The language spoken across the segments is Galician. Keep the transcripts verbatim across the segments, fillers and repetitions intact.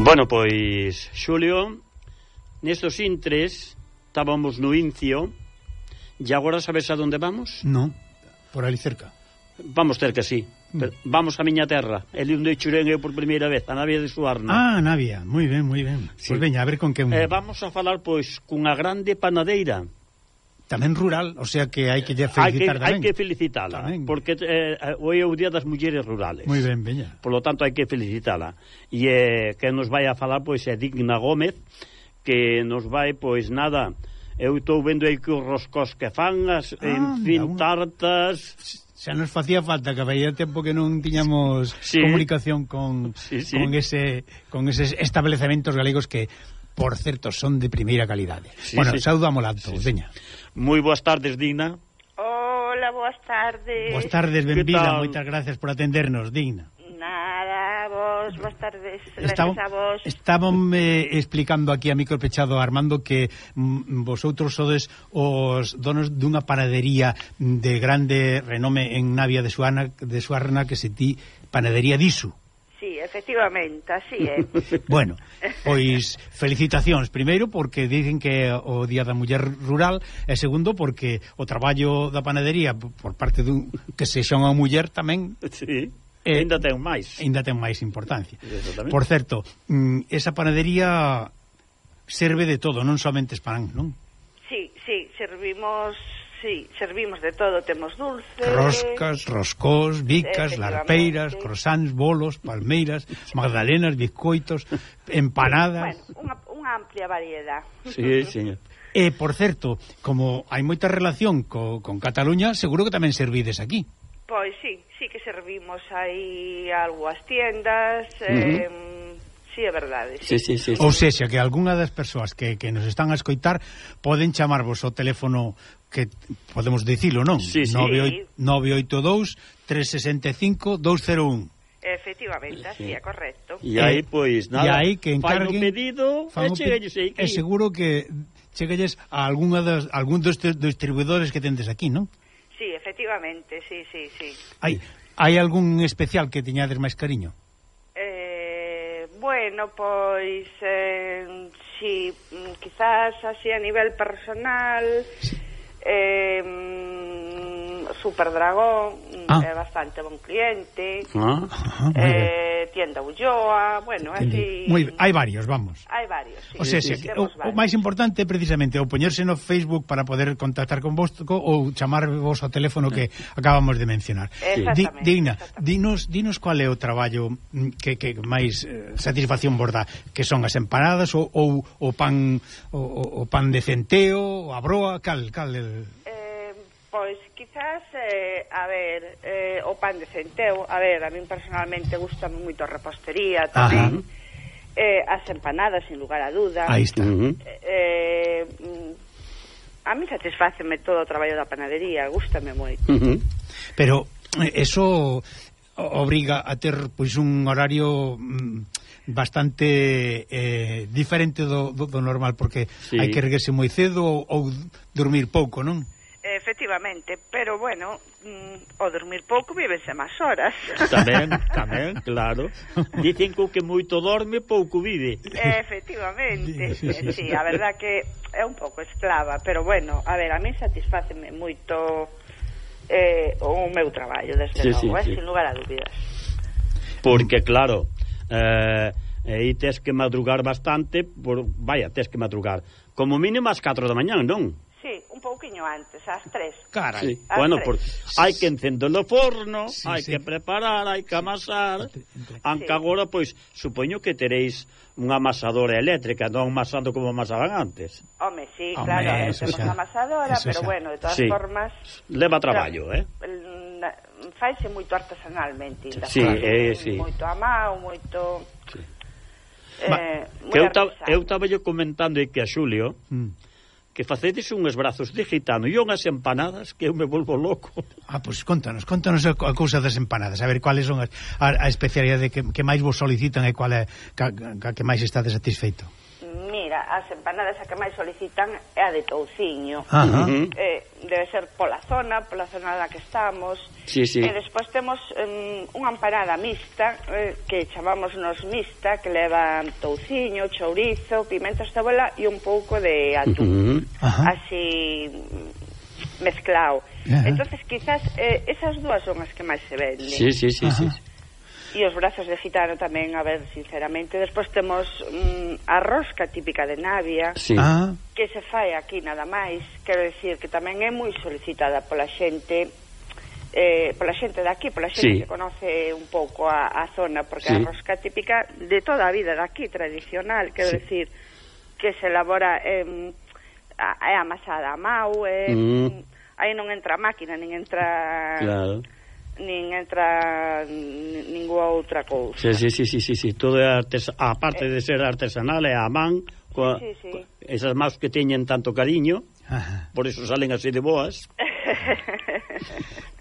Bueno, pois, Xulio, nestos intres estábamos no Incio e agora sabes a donde vamos? Non, por ali cerca. Vamos ter que sí. Pero vamos a miña terra, el onde churén eu por primeira vez, a Navia de Suarna. Ah, Navia, moi ben, moi ben. Sí. Pois veña, a ver con que... Eh, vamos a falar, pois, cunha grande panadeira. Tamén rural, o sea que hai que lle Hai que, felicitar tamén. hai que felicitala, tamén. porque eh, hoy é o Día das Mulleres Rurales. Moi ben, veña. Por lo tanto, hai que felicitala. E eh, que nos vai a falar, pois, é Digna Gómez, que nos vai, pois, nada... Eu estou vendo aí que os roscós que fan, as, ah, en fin, una... tartas... Xa nos facía falta, que había tempo que non tiñamos sí. comunicación con, sí, sí. con ese con eses establecementos galegos que, por certo, son de primeira calidade. Sí, bueno, sí. Saudamos a todos, sí, veña. Moi boas tardes, Digna. Hola, boas tardes. Boas tardes, benvida, moitas gracias por atendernos, Digna. Nada, vos, boas tardes. Estamos, a vos. Estamos eh, explicando aquí a micro pechado a Armando que mm, vosotros sodes os donos dunha panadería de grande renome en Navia de Suarna, de Suarna que se ti Panadería Disu. Sí, efectivamente, así é. Bueno, pois felicitacións primeiro porque dicen que é o Día da Muller Rural e segundo porque o traballo da panadería por parte dun que se xa unha muller tamén sí. Eh, ainda ten máis. Ainda ten máis importancia. Por certo, esa panadería serve de todo, non somente pan, non? Sí, sí, servimos, sí, servimos de todo, temos dulces, roscas, roscós, bicas, larpeiras, croissants, bolos, palmeiras, magdalenas, bizcoitos, empanadas. Bueno, unha, unha amplia variedade. Sí, señor. E, por certo, como hai moita relación co, con Cataluña, seguro que tamén servides aquí. Pois sí, sí que servimos aí algo as tiendas, eh, uh-huh. sí, é verdade. Sí, sí, sí, sí. Ou sexa, que algunha das persoas que, que nos están a escoitar poden chamarvos ao teléfono que podemos dicilo, non? Sí, sí. nove oito dous, tres seis cinco, dous cero un. Efectivamente, así sí. É correcto. E aí, pois, nada, e aí que encarguen, fai o pedido e cheguelles aí. É seguro que cheguelles a algún dos, algún dos distribuidores que tendes aquí, non? Sí, efectivamente, sí, sí, sí. Hai, hai algún especial que teñades máis cariño? Eh, bueno, pois eh, si, quizás así a nivel personal sí. eh, Super Dragón ah. é bastante bon cliente, ah. Ajá, eh, Tienda Ulloa, bueno, así... Muy, hai varios, vamos. Hai varios, sí. O sea, sí, sí, o, o máis importante é precisamente o poñerse no Facebook para poder contactar con vos ou chamarvos ao teléfono que acabamos de mencionar. Exactamente. Digna, dinos, dinos cual é o traballo que, que máis eh, satisfacción vos dá, que son as empanadas ou, ou o pan o, o pan de centeo, a broa, cal, cal el... Pois, quizás, eh, a ver, eh, o pan de centeo, a ver, a min personalmente gusta moito a repostería tamén, eh, as empanadas, sin lugar a duda. Aí está. Uh-huh. eh, a mí satisfáceme todo o traballo da panadería, gústame moito. Uh-huh. Pero eso obriga a ter, pois, un horario mm, bastante eh, diferente do, do, do normal, porque sí. hai que erguerse moi cedo ou, ou dormir pouco, non? Efectivamente, pero bueno, mm, o dormir pouco vívese máis horas. Tamén, tamén, claro. Dicen que o que moito dorme, pouco vive. Efectivamente, sí, sí, sí, a verdad que é un pouco esclava, pero bueno, a ver, a mí satisfáceme moito eh, o meu traballo, desde sí, logo, sí, eh, sí. sin lugar a dúbidas. Porque, claro, eh, aí tes que madrugar bastante, por, vaya, tes que madrugar como mínimo ás catro da mañá, non? Sí, un pouquiño antes, ás tres. Carai, sí. Bueno, porque hai que encender o forno, sí, hai sí. que preparar, hai que amasar. Anque sí. agora, pois, supoño que teréis unha amasadora eléctrica, non amasando como amasaban antes. Home, sí, Home, claro, temos xa. amasadora, Eso pero xa. bueno, de todas sí. formas... Leva traballo, eh? Faise moito artesanalmente. Sí, eh, sí. Moito a mao, moito... Sí. Eh, que eu estaba yo comentando que a Xulio... Mm. que facedes unhos brazos de gitano e unhas empanadas que eu me volvo loco. Ah, pois pues contanos, contanos a, a cousa das empanadas, a ver cuáles son as, a, a especialidade que, que máis vos solicitan e cual é ca, ca, que máis estades satisfeito. Mira, as empanadas a que máis solicitan é a de touciño. Ajá. Eh, debe ser pola zona, pola zona na que estamos. Sí, sí. E despois temos um, unha empanada mixta, eh, que chamamos nos mixta, que leva touciño, chourizo, pimenta cebola e un pouco de atún. Uh-huh. Así mezclado. Ajá. Entonces quizás eh, esas dúas son as que máis se venden. Sí, sí, sí, sí. E os brazos de gitano tamén, a ver, sinceramente. Despois temos mm, a rosca típica de Navia, Sí. Ah, que se fai aquí nada máis. Quero decir que tamén é moi solicitada pola xente, eh, pola xente de aquí, pola Sí. xente que conoce un pouco a, a zona, porque Sí. a rosca típica de toda a vida de aquí, tradicional, quero Sí. decir, que se elabora eh, a, é amasada a mau, eh, Mm. aí non entra a máquina, nin entra... Claro. nin entra ninguna outra cousa. Sí, sí, sí, sí, sí, sí. Todo é artesa... aparte de ser artesanal, é a man, coa... Sí, sí, sí. esas más que teñen tanto cariño, ajá. por eso salen así de boas.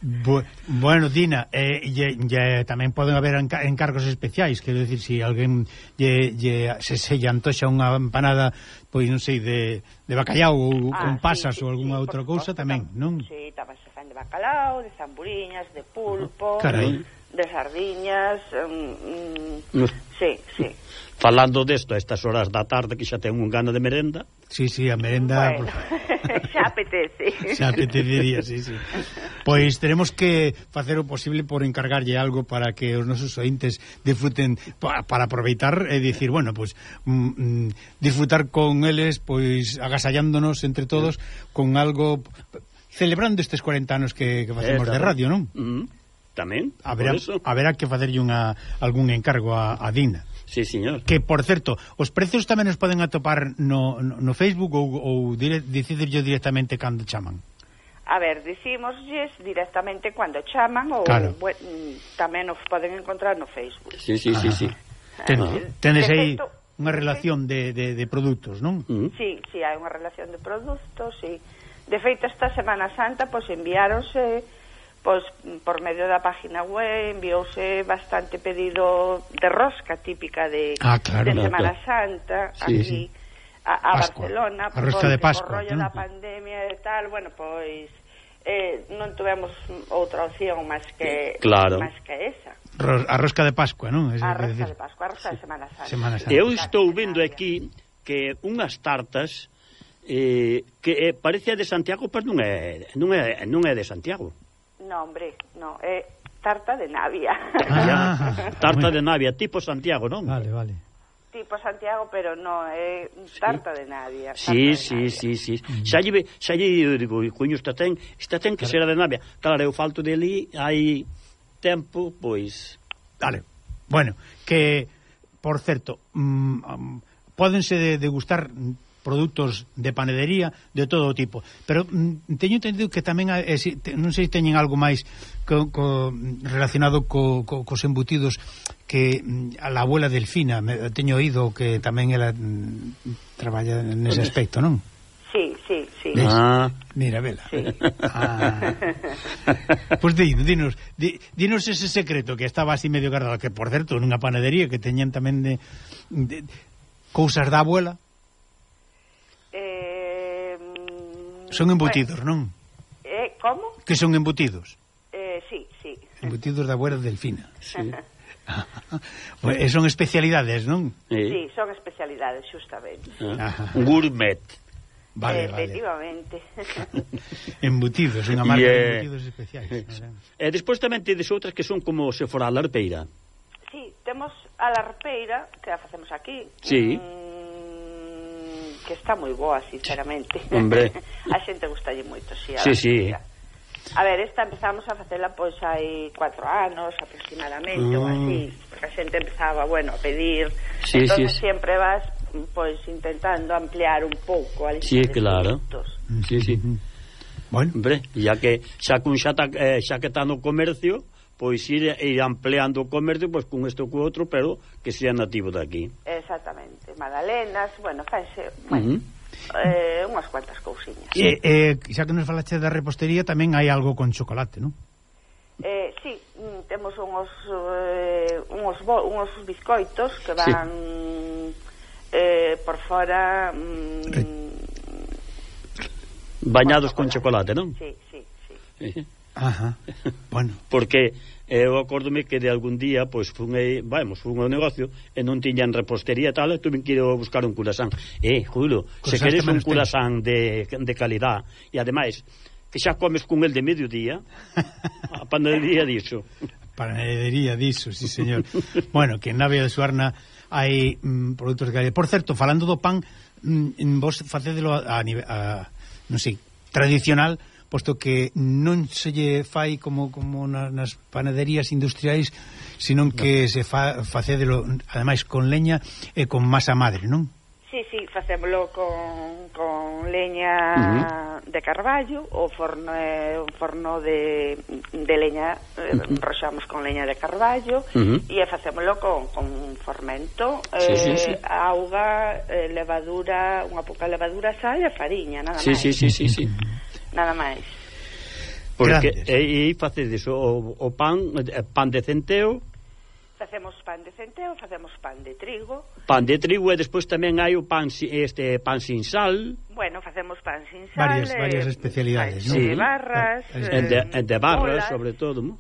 Bu bueno, Dina, eh, ye, ye, tamén poden haber enca encargos especiais, quero dicir, se si alguén lle, lle, se se lle antoxa unha empanada, pois non sei, de, de bacallau ou Ah, con pasas sí, sí, ou algunha sí, outra por cousa suposto, tamén, non? Sí, tamén se fan de bacalao, de zamburiñas, de pulpo, Carai. de sardiñas, mm, No. sí, sí. Falando desto a estas horas da tarde que xa ten un gana de merenda. Sí, sí, a merenda... Bueno, por... xa apetece. xa apetecería, sí, sí. Pois teremos que facer o posible por encargarlle algo para que os nosos ointes disfruten, pa, para aproveitar e dicir, bueno, pois mm, mm, disfrutar con eles, pois agasallándonos entre todos con algo, celebrando estes cuarenta anos que, que facemos Eh, de radio, non? Mm, tamén, Haberá, por eso. haberá que facerlle unha, algún encargo a, a Dina. Sí, señor. Que, por certo, os precios tamén os poden atopar no, no, no Facebook ou, ou dire, decidirlo directamente cando chaman. A ver, dicímoslles directamente cando chaman ou Claro. bueno, tamén os poden encontrar no Facebook. Sí, sí, sí, sí. Ten, Ah. tenes De aí feito- unha relación de, de, de produtos, non? Mm. Sí, sí, hai unha relación de produtos, sí. De feito, esta Semana Santa, pois enviáronse, pois por medio da página web, enviouse bastante pedido de rosca típica de, Ah, claro, de claro, Semana claro. Santa, Sí, aquí sí. a, a Pascua. Barcelona, A rosca de porque Pascua, por rollo non? da pandemia e tal, bueno, pois eh, non tivemos outra opción máis que Claro. máis que esa. Ros, a rosca de Pascua, non? Es, A é rosca dicir, de Pascua, a rosca de Semana Santa. Semana Santa. Eu estou vendo aquí que unhas tartas eh, que eh, parece de Santiago, pero non é, non é, non é de Santiago. No, hombre, no, é tarta de Navia. Ah, Tarta bueno. de Navia, tipo Santiago, non? Vale, vale. Tipo Santiago, pero no, é tarta de Navia. tarta Sí, de sí, Navia. sí, sí. Xa lle, xa lle digo, coño, esta ten, esta ten que será de Navia. Claro, eu falto de ali, hai tempo, pois... Vale. Bueno, que, por certo, mm, um, pódense de, degustar produtos de panadería de todo tipo, pero mm, teño entendido que tamén hai, eh, si, te, non sei se teñen algo máis co, co, relacionado co, co, cos embutidos que mm, a la abuela Delfina, me, teño oído que tamén ela mm, traballa nese aspecto, non? Sí, sí, sí. ¿Ves? Ah, Mira, vela. Sí. Ah. Pois pues dinos, di, dinos ese secreto que estaba así medio guardado, que por certo nunha panadería que teñan tamén de, de cousas da abuela. Eh, Son embutidos, bueno, non? Eh, como? Que son embutidos. Eh, sí, sí. Embutidos da abuela Delfina. sí. Pues, eh, son especialidades, non? Eh, Sí, son especialidades, justamente. ah, Ajá. gourmet. Vale, vale. Efectivamente. Embutidos, unha marca Yeah. de embutidos especiais. E despois tamén tedes outras que son como se fora a larpeira. Sí, temos a larpeira, que a facemos aquí. Sí. Mm, que está moi boa, sinceramente. Hombre. A xente gustalle moito, sí. A Sí, sí. larpeira. A ver, esta empezamos a facela pois hai cuatro anos aproximadamente, Mm. ou así, porque a xente empezaba, bueno, a pedir. Sí, entonces sí. sempre vas pois intentando ampliar un pouco a lista Sí, de claro. produtos. Sí, sí. Bueno, Hombre, ya que xa cun xa, ta, eh, xa que está no comercio, pois ir, ir ampliando o comercio pois con isto co outro, pero que sea nativo de aquí. Exactamente, magdalenas, bueno, faise, Uh bueno, -huh. eh, unhas cuantas cousiñas. eh, eh, xa que nos falaste da repostería, tamén hai algo con chocolate, non? Eh, sí, mm, temos unhos eh, unhos, bo, unhos bizcoitos que van eh, por fora mm, bañados con chocolate, non? Sí, sí, sí. Sí. Ajá. Bueno, porque eu acórdome que de algún día pois fun aí, vamos, fun ao negocio e non tiñan repostería e tal, e tuve que ir a buscar un curasán. Eh, Julio, se queres un curasán de, de calidad e ademais que xa comes con el de mediodía, a panadería diso. Panadería diso, sí señor. Bueno, que en Navia de Suarna hai mm, produtos de calidad. Por certo, falando do pan, mm, vos facédelo a, a, a non sei, tradicional, posto que non se lle fai como como na, nas panaderías industriais, senón que no. se fa facédelo ademais con leña e con masa madre, non? Sí, sí, facémolo con, con leña uh-huh. de carballo, o forno é un forno de, de leña, uh-huh. roxamos con leña de carballo, uh-huh. e facémolo con, con fermento, sí, eh, sí, sí. auga, eh, levadura, unha pouca levadura, sal e fariña, nada sí, máis. Sí, sí, sí, sí. Nada máis. Porque aí facedes o, o pan, pan de centeo. Facemos pan de centeo, facemos pan de trigo. Pan de trigo e despois tamén hai o pan este pan sin sal. Bueno, facemos pan sin sal. Varias, eh, varias especialidades, ¿no? Sí. De barras. Eh, de, de barras, bolas. sobre todo, ¿no?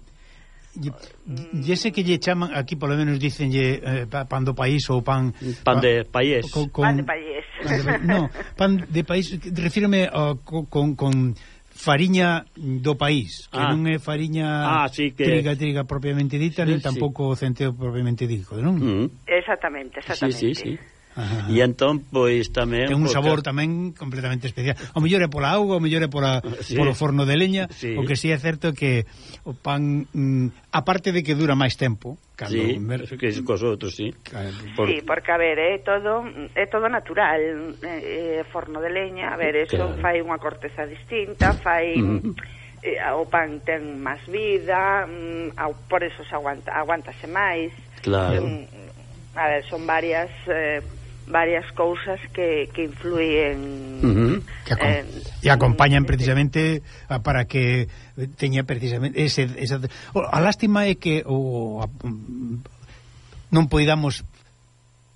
E ese que lle chaman, aquí polo menos dicenlle eh, pan do país ou pan... Pan de país. Con, con, pan de país. Pan de, no, pan de país, refírome uh, con... con fariña do país, que ah. non é fariña ah, sí que... triga, triga propiamente dita, sí, nin tampouco sí. centeo propiamente dito, non? Mm. Exactamente, exactamente. Sí, sí, sí. Ajá. E entón, pois, tamén... Ten un porque... sabor tamén completamente especial. O mellor é pola auga, o mellor é pola, sí. polo forno de leña, sí. O que sí é certo que o pan, mm, aparte de que dura máis tempo, cando sí, mer... que es cos outros, sí. Por... Sí, porque, a ver, é todo é todo natural, é, é forno de leña, a ver, eso claro. Fai unha corteza distinta, fai... Mm. Eh, o pan ten máis vida, mm, por eso se aguanta, aguántase máis. Claro. Mm, a ver, son varias... Eh, varias cousas que, que influyen uh-huh. que acom eh, e acompañan precisamente a, para que teña precisamente ese, esa, o, a lástima é que o, a, non poidamos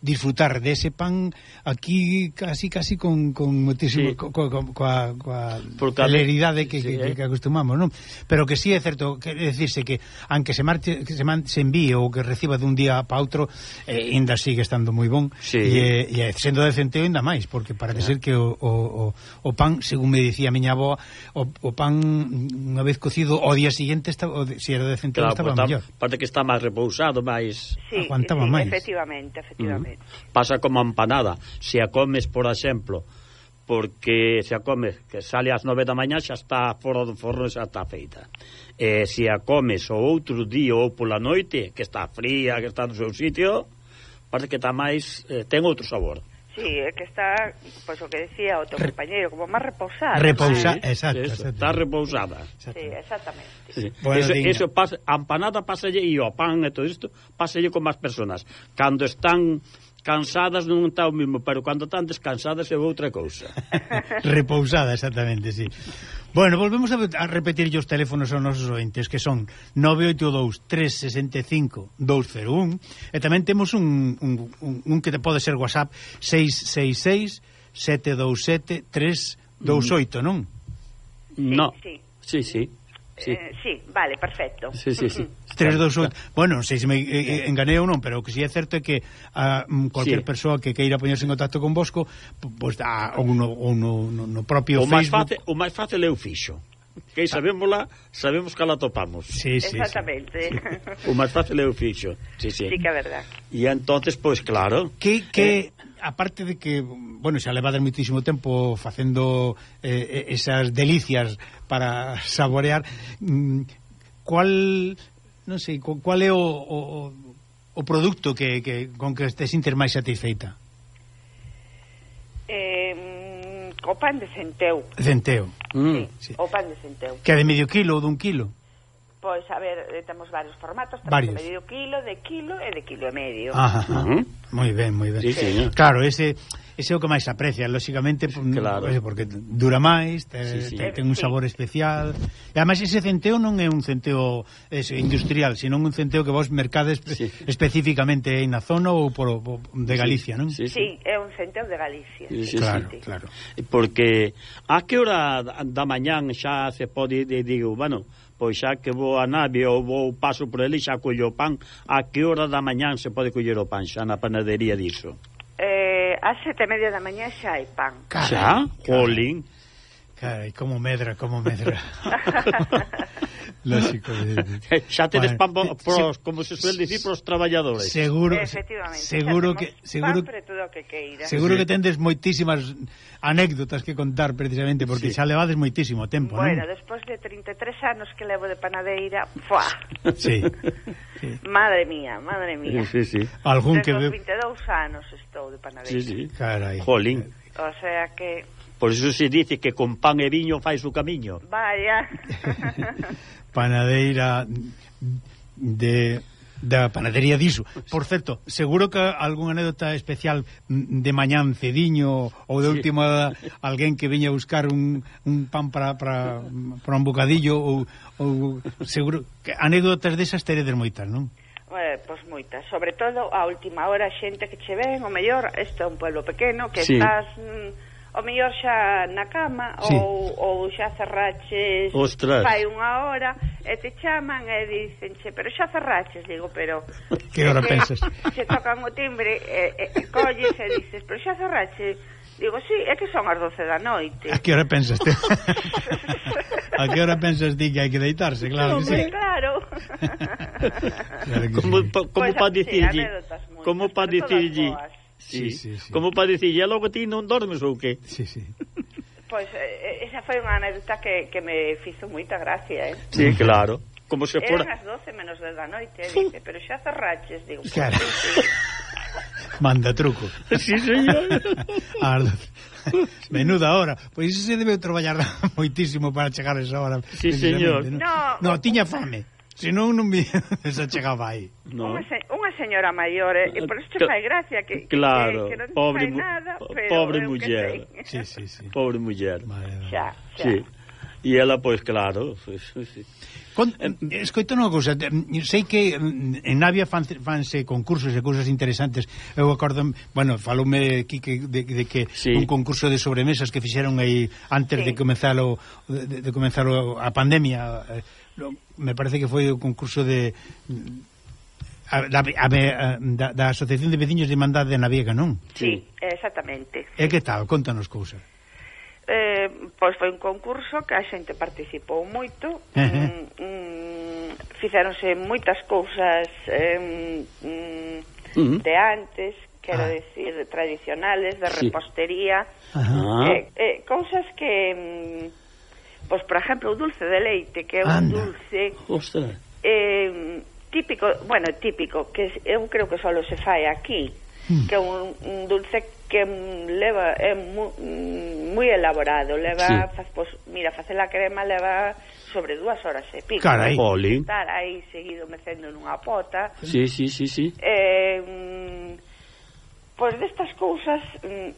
disfrutar dese pan aquí casi casi con, con moitísimo sí. co, co, coa, coa celeridade que, sí, que, que, que acostumamos, non? Pero que sí é certo, que decirse que aunque se marche, que se, man, se envíe ou que reciba dun día para outro, eh, ainda sigue estando moi bon, sí. e, e sendo de centeo ainda máis, porque parece ser que o, o, o pan, según me dicía a miña avó, o, o pan unha vez cocido ao día siguiente estaba, se si era de centeo, claro, estaba mellor. Parte que está máis repousado, máis sí, aguantaba sí, máis. Efectivamente, efectivamente. Uh-huh. Pasa como a empanada, se a comes, por exemplo, porque se a comes que sale ás nove da mañá xa está fora do forno, xa está feita. E se a comes o outro día ou pola noite, que está fría, que está no seu sitio, parece que está máis, eh, ten outro sabor. Sí, é que está, pois pues, o que decía o teu Re... compañeiro, como máis repousada. Repousada, sí, exacto, eso, está repousada. Sí, exactamente. Sí. Bueno, eso, eso pasa, a empanada pasalle e o pan e todo isto pasalle con máis personas. Cando están cansadas non está o mismo, pero cando están descansadas é outra cousa. Repousada, exactamente, sí. Bueno, volvemos a, a repetir os teléfonos aos nosos ointes, que son nove oito dous, tres seis cinco, dous cero un, e tamén temos un, un, un, un que te pode ser WhatsApp seis seis seis, sete dous sete, tres dous oito, non? No, sí, sí, sí. Sí. Eh, sí, vale, perfecto. Sí, sí, sí. tres dos oito. Bueno, non sei se me eh, enganei ou non, pero o que si é certo é que a uh, cualquier sí. persoa que queira poñerse en contacto con vosco, pois pues, ou no, ou no, no, no propio o Facebook. Máis fácil, o máis fácil é o fixo. Que sabémosla, sabemos que la topamos. Sí, sí, exactamente. Sí. O máis fácil é o fixo. Sí, sí. Sí que é verdad. E entonces, pois pues, claro. Que que eh, aparte de que, bueno, xa levades moitísimo tempo facendo eh, esas delicias para saborear, mm, cual, non sei, cual é o, o, o produto que, que con que te sintes máis satisfeita? Eh, o pan de centeu. Centeo. Mm. Sí, sí, o pan de centeu. Que é de medio kilo ou dun kilo? Pois, a ver, temos varios formatos, temos varios. de medio quilo, de quilo e de quilo e medio. Ajá, Uh -huh. moi ben, moi ben. Sí, sí. Claro, ese ese é o que máis aprecia, lóxicamente, claro. porque dura máis, te, sí, sí. te, ten un sabor sí. especial. E ademais ese centeo non é un centeo ese, industrial, sino un centeo que vos mercades sí. especificamente aí na zona ou por, por de Galicia, non? Sí, sí. sí, é un centeo de Galicia. Sí, sí, claro, sí. claro. Porque a que hora da mañán xa se pode, digo, bueno, pois xa que vou a nave ou vou paso por ali xa collo o pan, a que hora da mañán se pode coller o pan xa na panadería diso? Eh, a sete e media da mañá xa hai pan. Carai, xa? Jolín. Carai, como medra, como medra. Lógico. Xa tedes pan pros, como se suele dicir, pros traballadores. Seguro, efectivamente. Seguro que seguro pan todo que queira. Seguro sí. que tendes moitísimas anécdotas que contar precisamente porque sí. xa levades moitísimo tempo, bueno, non? Bueno, despois de trinta e tres anos que levo de panadeira, fuá. Sí. sí. Madre mía, madre mía. Sí, sí. Algún Desde que os vinte e dous anos estou de panadeira. Sí, sí. Carai. Jolín. O sea que por iso se dice que con pan e viño fai o camiño. Vaya. Panadeira de da panadería diso. Por certo, seguro que algunha anécdota especial de mañán cediño ou de sí. última alguén que viña a buscar un, un pan para, para, para un bocadillo ou, ou seguro que anécdotas desas teredes moitas, non? Eh, pois moitas, sobre todo a última hora xente que che ven, o mellor, este é un pueblo pequeno que sí. estás mm, o mellor xa na cama sí. ou, ou xa cerraches Ostras. fai unha hora e te chaman e dicenche, pero xa cerraches, digo, pero que hora que, pensas? Se tocan o timbre e, e, e colles e dices, pero xa cerraches, digo, sí, é que son as doce da noite. A que hora pensas te? A que hora pensas ti que hai que deitarse? Claro que sí. Claro. Claro que como sí. pa, como pues, para sí, dicirlle como para dicirlle sí, sí, sí. como para dicirlle logo ti non dormes ou que? Sí, sí. Pois pues, eh, esa foi unha anécdota que, que me fizo moita gracia, eh? Sí, claro. Como se fora... Eran as doce menos dez da noite, eh, dice, pero xa cerraches, digo. Claro. Pues, sí, sí. Manda truco. Sí, señor. Menuda hora. Pois iso se debe traballar moitísimo para chegar a esa hora. Sí, señor. ¿no? No, no, tiña fame. Se non, non me se chegaba aí. No. Unha, se, unha señora maior, eh, e por isto fai gracia que, claro, que, que non pobre, fai nada, pero pobre eu muller. Sí, sí, sí. Pobre muller. Xa, xa. Sí. E ela, pois, claro, sí, sí. Con, escoito unha cousa, sei que en Navia fan, fanse concursos e cousas interesantes. Eu acordo, bueno, faloume Quique de, de que sí. un concurso de sobremesas que fixeron aí antes sí. de comenzar o, de, de comenzar o, a pandemia. Me parece que foi o concurso de a, a, a, da, da Asociación de Veciños de Irmandade de Navega, non? Sí, exactamente. E que tal? Contanos cousas. Eh, pois foi un concurso que a xente participou moito. Uh -huh. mm, mm, fixéronse moitas cousas eh, mm, uh -huh. de antes, quero ah. decir, tradicionales, de sí. repostería, uh -huh. eh, eh, cousas que mm, pois, por exemplo, o dulce de leite, que é un Anda. dulce Ostras. eh, típico, bueno, típico, que eu creo que só se fai aquí, mm. que é un, un dulce que leva, é moi, moi elaborado, leva, sí. fa, pues, mira, facer a crema leva sobre dúas horas e pico. Carai. Estar aí seguido mecendo nunha pota. Sí, sí, sí, sí. Eh, mm, pois destas cousas... Mm,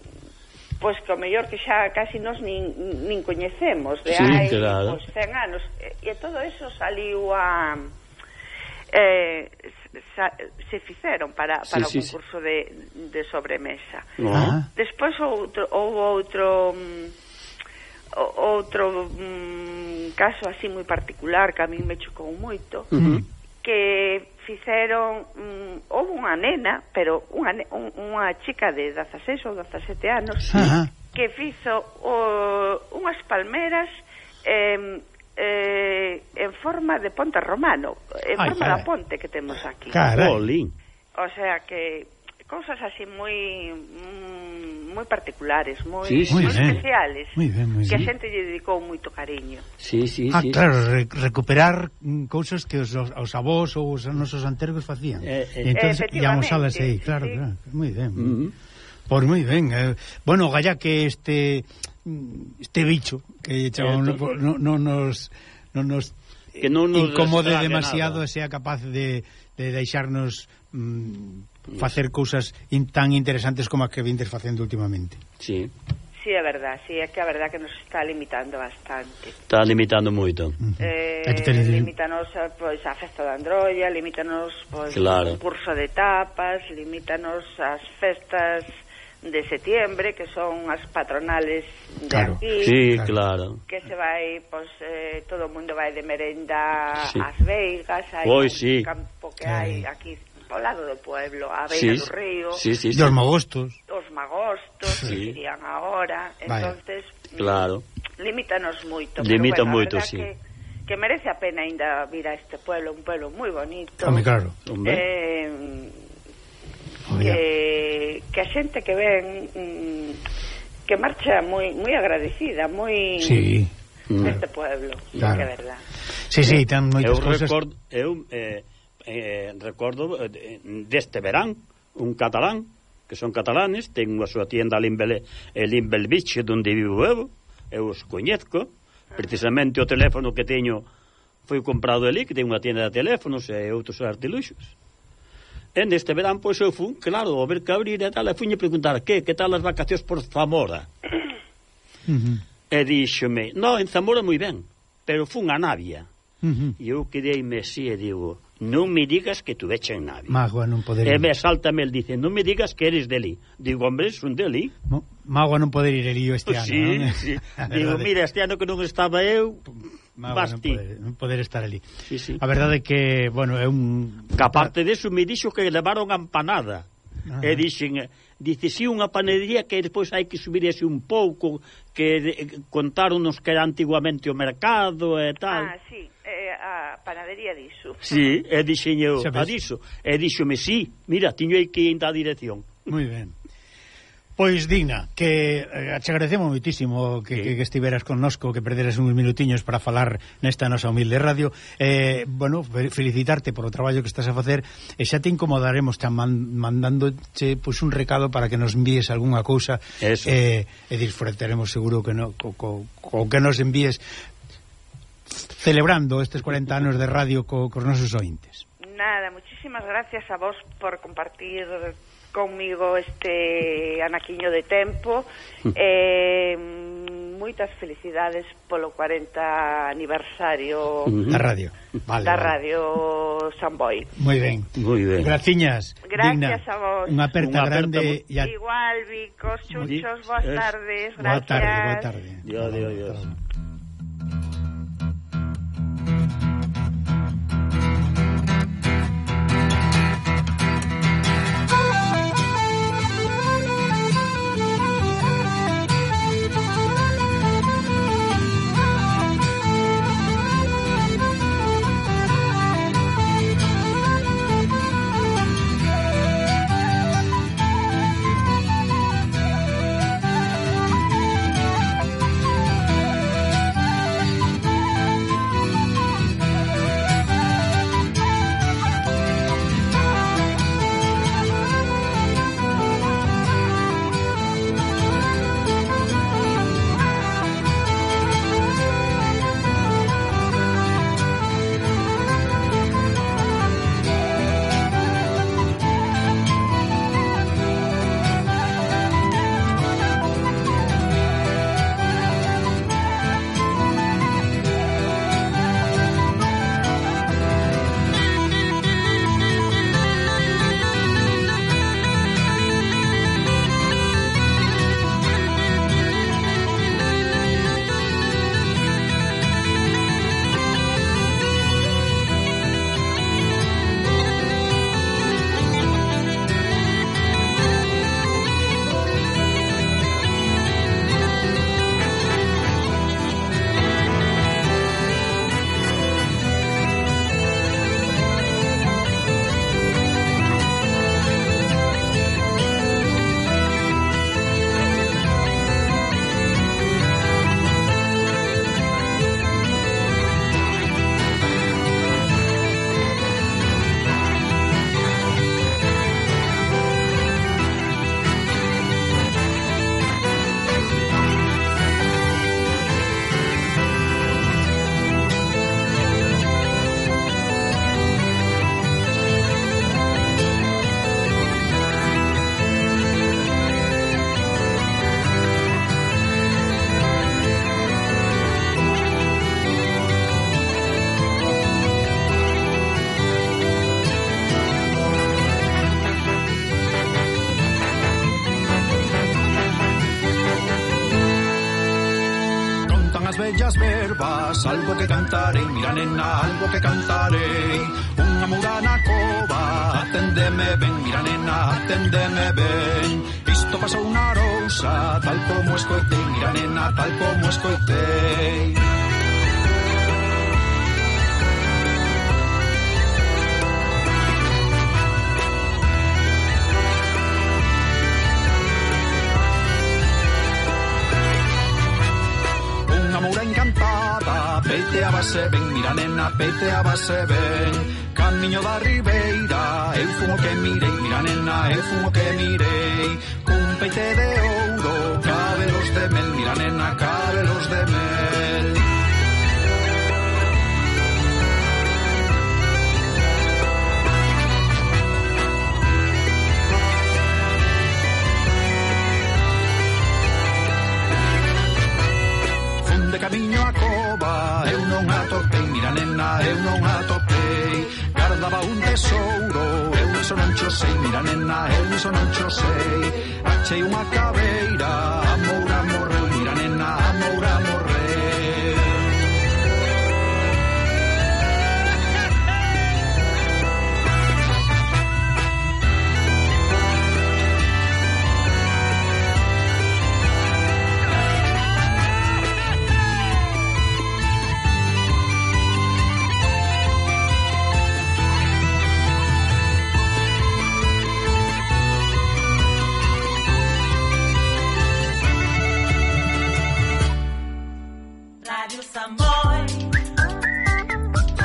pois que o mellor que xa casi nos nin, nin coñecemos de sí, hai claro. pois, cen anos e, e todo eso saliu a eh, sa, se fixeron para, para sí, o concurso sí. de, de sobremesa. Uh-huh. Despois outro, houve outro um, outro um, caso así moi particular que a mí me chocou moito, uh-huh. que fixeron um, houve unha nena, pero unha, un, unha chica de dezaseis ou dezasete anos uh-huh. que fizo o, unhas palmeras eh, eh, en forma de ponte romano, en Ay, forma caray. da ponte que temos aquí. Jolín. O sea que cousas así moi moi particulares, moi, sí, sí. moi Muy especiales, muy bien, muy que a bien. xente lle dedicou moito cariño. Sí, sí, ah, sí. claro, re recuperar mm, cousas que os, os avós ou os nosos antergos facían. Eh, eh. E entonces íamos a las aí, sí, claro, sí. claro. Moi ben. Uh -huh. Pois moi ben. Eh, bueno, galla que este este bicho que chamo, no, no, no nos no nos que non nos incomode demasiado e sea capaz de, de deixarnos mm, facer cousas in, tan interesantes como as que vindes facendo últimamente. Sí. Sí, é verdad, sí, é que a verdad que nos está limitando bastante. Está limitando moito. Uh -huh. eh, limítanos pois, a festa da Androlla, limítanos pois, claro. o curso de tapas, limítanos as festas de setiembre, que son as patronales de claro. aquí. Sí, claro. Que se vai, pois, eh, todo o mundo vai de merenda sí. ás Veigas, hai Hoy, un sí. campo que hai aquí ao lado do pueblo, a sí. beira do río. Sí, sí, sí. Os magostos. Os magostos, sí. que dirían agora. Entonces, claro. Limítanos moito. Limita bueno, moito, sí. Que, que merece a pena ainda vir a este pueblo, un pueblo moi bonito. Home, claro. Eh, que, que a xente que ven mm, que marcha moi moi agradecida, moi sí. deste pueblo, claro. Que é verdad. Sí, sí, ten moitas eu cousas. Record, eu eh, eh, recordo eh, deste verán un catalán, que son catalanes, ten unha súa tienda ali en Belviche, onde vivo eu, eu os coñezco, precisamente o teléfono que teño foi comprado ali, que ten unha tienda de teléfonos e outros artiluxos. E neste verán, pois eu fui, claro, a ver que abrir e tal, e fui a preguntar, que, que tal as vacacións por Zamora? Uh -huh. E díxome, no, en Zamora moi ben, pero fun a Navia. Uh -huh. E eu quedei-me así e digo, non me digas que tu veche en Navia. Magua non poder E ir. me saltame el, dice, non me digas que eres deli. Digo, hombre, son deli. No, Magua non poder ir el lío este ano, sí, non? Sí. Digo, mira, este ano que non estaba eu, Magua non poder, non poder estar ali. Sí, sí. A verdade é que, bueno, é un... Que aparte deso me dixo que levaron a empanada. Ajá. E dixen, dice, si unha panadería que despois hai que subir ese un pouco, que eh, contaronos que era antiguamente o mercado e tal. Ah, sí, eh, a panadería diso. Sí, e dixen eu, a diso. E dixome, sí, mira, tiño aí que ir da dirección. Moi ben. Pois, Digna, que eh, te agradecemos moitísimo que, sí. que, que estiveras connosco, que perderas uns minutiños para falar nesta nosa humilde radio. Eh, bueno, felicitarte por o traballo que estás a facer, e xa te incomodaremos tan man, mandándoche pois, un recado para que nos envíes algunha cousa. Eso. Eh, e disfrutaremos seguro que no, co, co, co que nos envíes celebrando estes cuarenta anos de radio co, cos nosos ointes. Nada, muchísimas gracias a vos por compartir conmigo este anaquiño de tempo. eh, moitas felicidades polo cuarenta aniversario da radio, vale, da vale. Radio Samboy. Moi ben, moi ben. Graciñas, gracias Digna. A vos. Unha aperta grande y a... igual, Vicos, chuchos, boas tardes. Gracias. Boa tarde, boa tarde. Dios, Dios, Dios. ervas, algo que cantarei, mira nena, algo que cantarei. Unha moura na cova, aténdeme ben, mira nena, aténdeme ben. Isto pasou unha rousa, tal como escoitei, mira nena, tal como escoitei. Encantada, peiteábase ben, mira nena, peiteábase ben. Camiño da ribeira, eu fun o que mirei, mira nena, eu fun o que mirei. Cun peite de ouro, cabelos de mel, mira nena, cabelos de mel. De camiño a cova, eu non atopei, mira nena, eu non atopei. Guardaba un tesouro, eu iso non cho sei, mira nena, eu iso non cho sei. Achei unha cabeira, a moura morreu, mira nena, a moura morreu. Rádio Samboy.